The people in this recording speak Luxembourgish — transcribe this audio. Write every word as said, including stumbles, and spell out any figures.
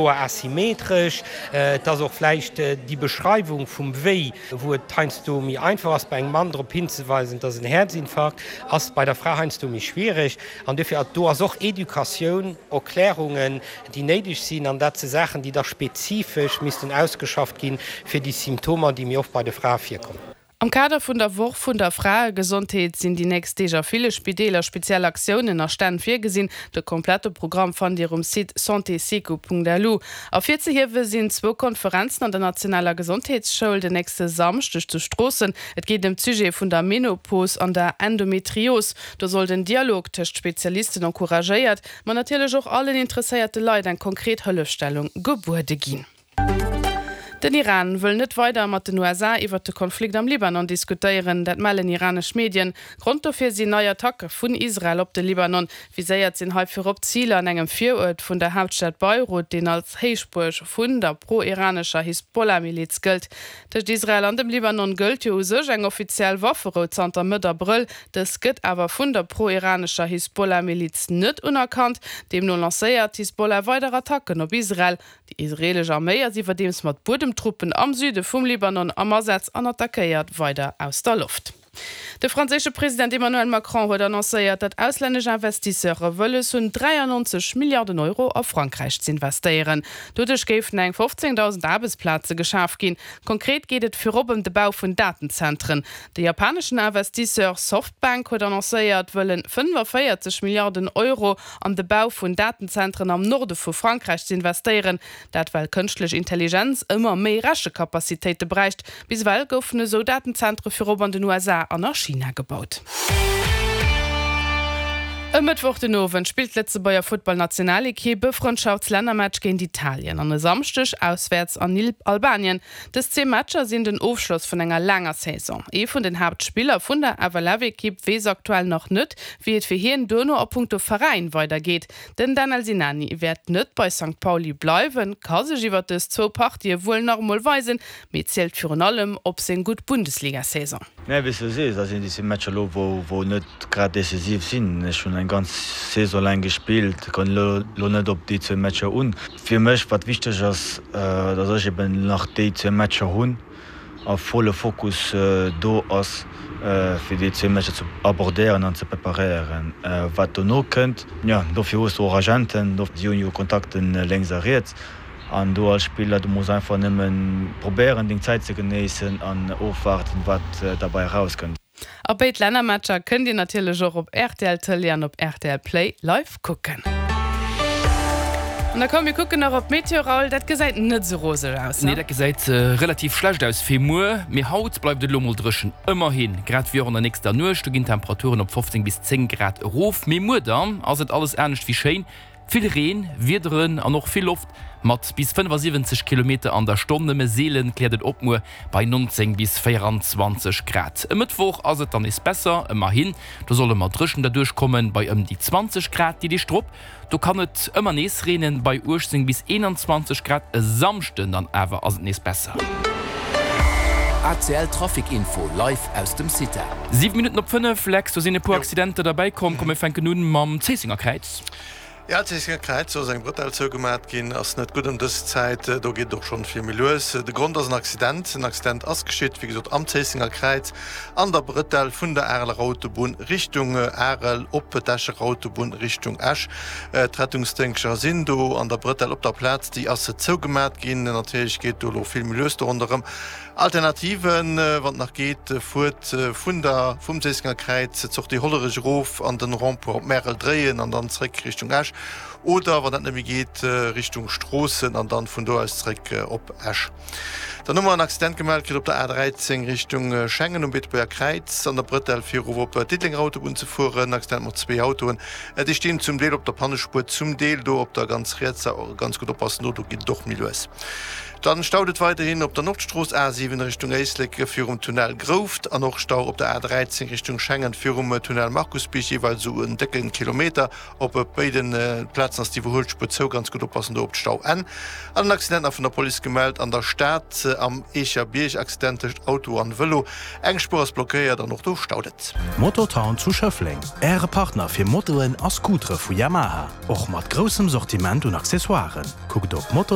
Asymmetresch, et ass och vläicht déi Beschreiwung vum Wéi, wou et heiansdo méi einfach ass, bei engem Mann drop hinzeweisen, et ass en Häerzinfarkt, ass bei der Fra heiansdo méi schwiereg. An duerfir, do ass och Educatioun, Erklärungen, déi néideg sinn. An dat si Saachen, déi da spezifesch missten ausgeschafft ginn, fir déi Symptomer, déi méi oft bei de Frae virkommen. Am Kader vun der Woch vun der Fraegesondheet sinn déi nächst Deeg a ville Spideeler speziell Aktiounen a Stänn virgesinn. De komplette Programm fannt Dir um Site santésecu.lu. Ervirzehiewe sinn zwou Konferenzen an der nationaler Gesondheetsschoul den nächste Samschdeg zu Stroossen. Et geet ëm d'Sujete vun der Menopos an der Endometrios. Do soll den Dialog tëscht Spezialisten encouragéiert, ma natierlech och allen interesséierte Leit eng konkret Hëllefstellung gebuede ginn. Den Iran wëll net weider mat den U S A iwwert de Konflikt am Libanon diskutéieren, dat mellen iranesch Medien. Grond dofir sinn nei Attacke vun Israel op de Libanon. Viséiert sinn hei virop Ziler an engem Viruert vun der Haaptstad Beirut, deen als Héichbuerg vun der pro-iranescher Hisbollah-Miliz gëllt. Tëscht Israel an dem Libanon gëllt jo u sech eng offiziell Wafferou zanter Mëtt Abrëll. Dës gëtt awer vun der pro-iranescher Hisbollah-Miliz net unerkannt. Deemno lancéiert d'Hisbollah weider Attacken op Israel. Déi israelesch Arméi ass iwwerdeems mat Buedemtruppen am Süde vum Libanon am Asaz an attackéiert weider aus der Loft. De franséische President Emmanuel Macron huet annoncéiert, datt auslännesch Investisseure wëlles hunn, dräiannonzeg Milliarden Euro a Frankräich z'investéieren. Doduerch géifen eng fofzéngdausend Aarbechtsplaze geschaf ginn. Konkret geet et virop ëm de Bau vun Datenzentren. De japaneschen Investisseur Softbank huet annoncéiert, wëllen fënnefvéierzeg Milliarden Euro an de Bau vun Datenzentren am Norde vu Frankräich z'investéieren. Dat well kënschtlech Intelligenz ëmmer méi Rechekapazitéite bräicht. Bis ewell goufen esou Datenzentre virop an den U S A an a China gebaut. E Mëttwoch den Owend spillt d'Lëtzebuerger Futtballnationalekipp e Frëndschaftslännermatch géint Italien an e Samschdeg auswäerts an Albanien. Dës zwee Matcher sinn den Ofschloss vun enger laanger Saison. Ee vun den Haaptspiller vun der F L F-Ekipp weess aktuell nach net, wéi et fir hien duerno a punkto Veräin weidergeet. Den Danel Sinani wäert net bei Sankt Pauli bleiwen, ka sech iwwer dës zwou Partië wuel nach emol weisen, mee zielt virun allem op seng gutt Bundesliga-Saison. Nee, wéi s du sees, da sinn déi Matcher elo, wou, wou net grad decisiv sinn. Ech hunn eng ganz Saison laang gespillt, kann elo, elo net op déi zwee Matcher un. Fir mech, wat wichteg ass, äh, dass ech eben nach déi zwee Matcher hunn a volle Fokus, äh, do ass, äh, fir déi zwee Matcher ze abordéieren an ze preparéieren. Äh, wat dono kënnt, ja, dofir hues du och Agenten, dofir hunn jo Kontakten lénks a riets. An du als Spiller, du musst einfach nëmmen probéieren, deng Zäit ze genéissen an ofwarten, wat, äh, dabei rauskënnt. A béid Lännermatcher kënnt Dir natierlech och op R T L Tëlee an op R T L Play live kucken. An da komm, mir kucken nach op d'Meteo, Raoul. Dat gesäit net sou roseg aus, ne? Nee, dat gesäit, äh, relativ schlecht aus fir muer. Mee haut bleift et elo mol dréchen. Ëmmerhin, grad wéi och an der nächster Nuecht, do ginn d'Temperaturen op fofzéng bis zéng Grad erof. Mee muer dann ass et alles anescht wéi schéin. Vill Reen, Wiederen an och vill Loft mat bis fënnefasiwwenzeg Kilometer an der Stonn. Nëmme seelen kläert et op muer bei neunzéng bis véierundzwanzeg Grad. E Mëttwoch ass et dann nees besser, ëmmerhin. Do solle mer dréchen derduerch kommen bei ëm déi zwanzeg Grad. Déi Deeg drop, do kann et ëmmer nees reenen bei uechtzéng bis eenanzwanzeg Grad. E Samschden dann awer ass et nees besser. A C L Trafic Info live aus dem Cita. Siwe Minutten op fënnef, Lex, do sinn e puer Jo. Accidenter derbäi komm. Komm, mir fänken un mam Zéissenger Kräiz. Ja, Zéissenger Kräiz, do ass eng Bretelle zougemat ginn, ass net gutt ëm dës Zäit, do geet et och schonn vill méi lues. De Grond ass en Accident. En Accident ass geschitt, wéi gesot, am Zéissenger Kräiz an der Bretelle vun der Areler Autobunn Richtung Arel op d'Escher Autobunn Richtung Esch. D'Rettungsdéngschter sinn do an der Bretelle op der Plaz, déi ass zougemat ginn. Natierlech geet do elo vill méi lues do ronderëm. Alternativen, wann et nach geet, fuert vun der, vum Zéissenger Kräiz d'Sortie Hollerech erof an den Rond-point op Märel dréien an dann zréck Richtung Esch. Oder, wann dat net méi geet, Richtung Stroossen an dann vun do aus zréck op Esch. Dann hu mer en Accident gemellt kritt op der A dräizéng Richtung Schengen um Beetebuerger Kräiz an der Bretelle fir erof op d'Diddelenger Autobunn ze fueren. Accident mat zwee Autoen. Déi stinn zum Deel op der Pannespuer, zum Deel do op der ganz rietser. Ganz gutt oppassen do, do geet et och méi lues. Dann staut et weiderhin op der Nordstrooss A siwen Richtung Éislek virum Tunnel Grouft an och Stau op der A dräizéng Richtung Schengen virum Tunnel Markusbierg, jeeweils sou en décken Kilometer. Op béiden Plazen ass d'Iwwerhuelspuer zou, ganz gutt oppassen do op d'Stau N. An en Accident nach vun der Police gemellt an der Stad am Eecherbierg, Accident tëscht Auto an Vëlo. Eng Spuer ass blockéiert an och do staut et. Mototown zu Schëffleng, Äre Partner fir Motoen a Scootere vu Yamaha. Och mat groussem Sortiment un Accessoiren. Kuckt op moto